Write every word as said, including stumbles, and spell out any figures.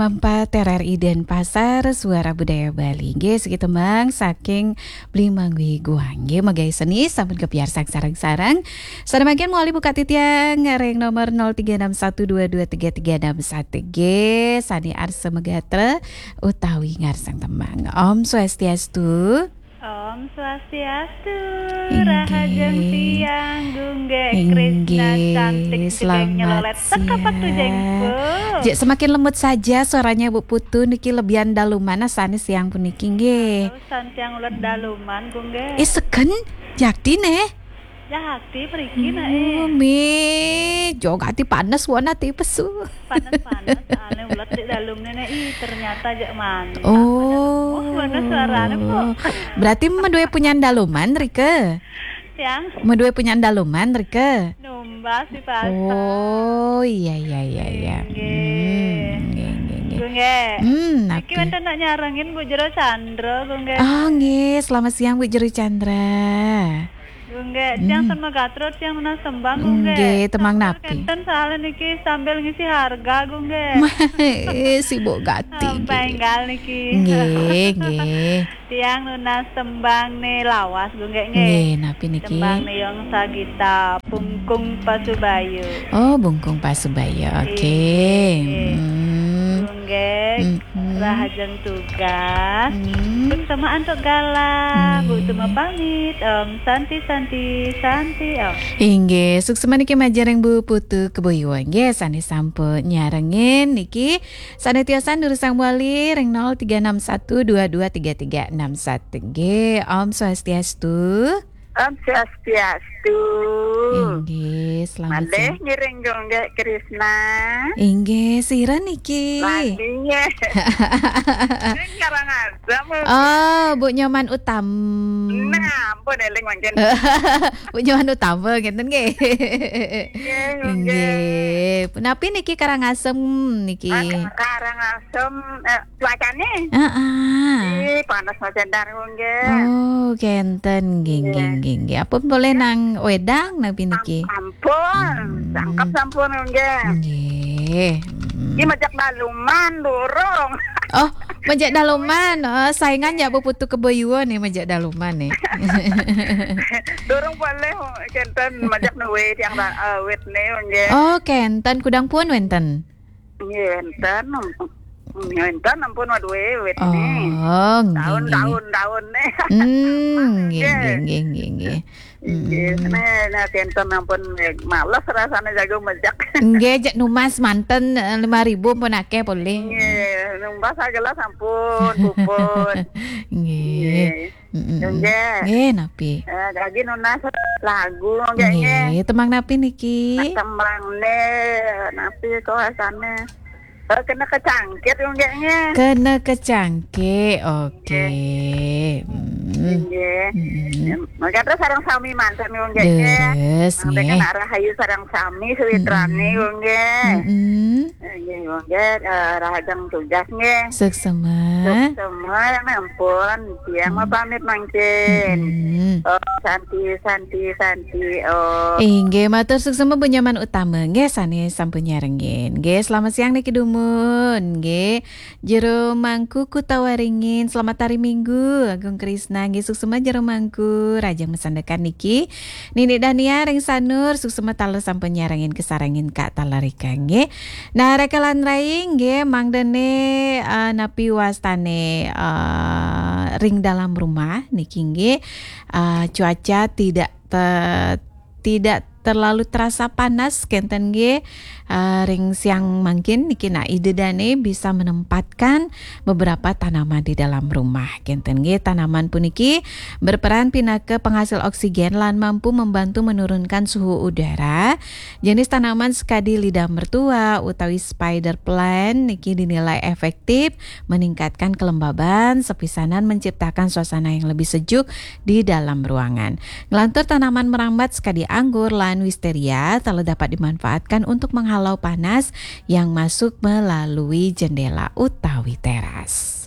Mampat R R I Denpasar, Suara Budaya Bali. Nggih, siki tembang saking Bli Mangwi Guang. Nggih, megai seni sampun kepiarsang sareng-sareng. Sané mangkin mawali buka titiang ring nomor nol tiga enam satu dua dua tiga tiga enam satu. Nggih, sané arsa magatra utawi ngarsang tembang. Om Swastiastu. Om Swastiastu, Inggih. Rahajeng tiang, Gunggé Krisna Inggih, cantik, selamat nyelolet. Teka siang. Jek semakin lembut saja suaranya Bu Putu niki, lebihan daluman asane siang puniki nggih. Terus santiang ulet daluman, Gunggé. Eh, segen, jakti neh. Jakti mriki nak, eh. Oh, mi, jogati panas wona ti pesu. Panas-panas, ane ulet di dalem nene, ih, ternyata jak manis. Oh. Wah, mana suarane, Pok? Berarti medue punyan daluman, Rike? Yang? Medue punyan daluman, Rike? Numbas di pasar. Oh, iya, iya, iya, iya. Nggih. Hmm, nggih, nggih, nggih. Gunggé. Hmm, niki napi? Wonten nak nyarengin Bu Jero Chandra, Gunggé. Oh, nggih. Selamat siang, Bu Jero Chandra. Gunggé, tiang Hmm. Sema Gatrut, tiang nunas tembang, Gunggé. Nggih, tembang Sampun napi? Kenten soalnya niki sambil ngisi harga, Gunggé. Eh, sibuk gati, Sampai nggih. Enggal niki. Nggih, nggih. Tiang nunas tembang ne lawas, Gunggé, nggih. Nggih, napi niki? Tembang ne Yong Sagita, Bungkung Pasubayu. Oh, Bungkung Pasubayu. Oke. Nggih. Hmm. Gunggé. Hmm. Hmm. Rahajeng tugas. Hmm. Suksema antuk galah. Nggih. Bu Tuma pamit. Om Santi, Santi, Santi, Om. Inggih, suksema niki majeng ring Bu Putu Kebuyuan. Nggih, sane sampun nyarengin niki. Sane tiosan durusang wali ring nol tiga enam satu dua dua tiga tiga enam satu. Nggih, Om Swastiastu. Om Swastiastu. Inggih, selamat Malih siang. Ngiring Gunggé Krisna. Inggih, sira niki? Lali, nggih. Ning Karangasem. Oh, Bu Nyoman Utam. Nah, ampun eling mangkin. Bu Nyoman Utama ngeten nggih. Nggih, nggih. Nggih. Punapi niki Karangasem niki? Ah, Karangasem, eh, cuacane? Heeh. Ih, panas majan dar, Gunggé. Oh, kenten. Nggih, nggih, Nggih. nggih, nggih. Apa boleh nang wedang napi niki? Am-, ampun. Hmm. Cangkep sampun, Gunggé. Nggih. Hmm. Iki majak daluman, durung. Oh, majak daluman. Oh, saingan ya Bu Putu Kebuyuan nih, majak daluman nih. Durung boleh, kenten majak nuwe tiang ra-, eh, wit nih, Gunggé. Oh, kenten. Kudang pun wenten? Nggih, enten. Nggih, enten, ampun, waduh, wit nih. Oh, nggih, Daun, nggih. Daun, daun nih. Hmm, nggih, Nggih. nggih, nggih, nggih, nggih. Nggih, Hmm. nih, nih, kenten ampun, males rasane jago majak. Nggih, jek numas manten, eh, lima ribu pun akeh polih. Nggih, numbas sagelas ampun, puput. Nggih. Nggih. Mm-mm. Nggih. Nggih, napi? Eh, lagi nunas lagu, nggih, Nggih, nggih. Tembang napi niki? Tembang ne, napi kok asane? Eh, kena kecangkit, nggih, nggih. Kena kecangkit, oke. Nggih. Mm. Nggih. Mm-mm. Mangke terus sareng sami manten, nggih, nggih. Leres, Mangke nggih. Kena rahayu sareng sami, sewitrane, Mm-mm. nggih. Mm-mm. Nggih, nggih, eh, rahajeng tugas, nggih. Suksema. Suksema, ya ampun. Tiang Hmm. mapamit mangkin. Hmm. Oh, Santi, Santi, Santi, oh. Inggih, matur suksema Bu Nyoman Utama. Nggih, sane sampun nyarengin. Nggih, selamat siang niki dumun. Nggih. Jero Mangku Kutawaringin, selamat hari Minggu. Agung Krisna, nggih, suksema Jero Mangku. Rahajeng masandekan niki. Nini Dania ring Sanur, suksema taler sampun nyarengin kesarengin Kak Talerika, nggih. Nah, Raka lan Rai, nggih, mangdene, eh, napi wastane, eh, ring dalam rumah niki, nggih. Eh, cuaca tidak te-, tidak terlalu terasa panas, kenten, nggih. Eh, ring siang mangkin niki, nah, ide dane bisa menempatkan beberapa tanaman di dalam rumah, kenten, nggih. Tanaman puniki berperan pinaka penghasil oksigen lan mampu membantu menurunkan suhu udara. Jenis tanaman sekadi lidah mertua utawi spider plant niki dinilai efektif meningkatkan kelembaban, sepisanan menciptakan suasana yang lebih sejuk di dalam ruangan. Nglantur tanaman merambat sekadi anggur lan wisteria taler dapat dimanfaatkan untuk menghalau panas yang masuk melalui jendela utawi teras.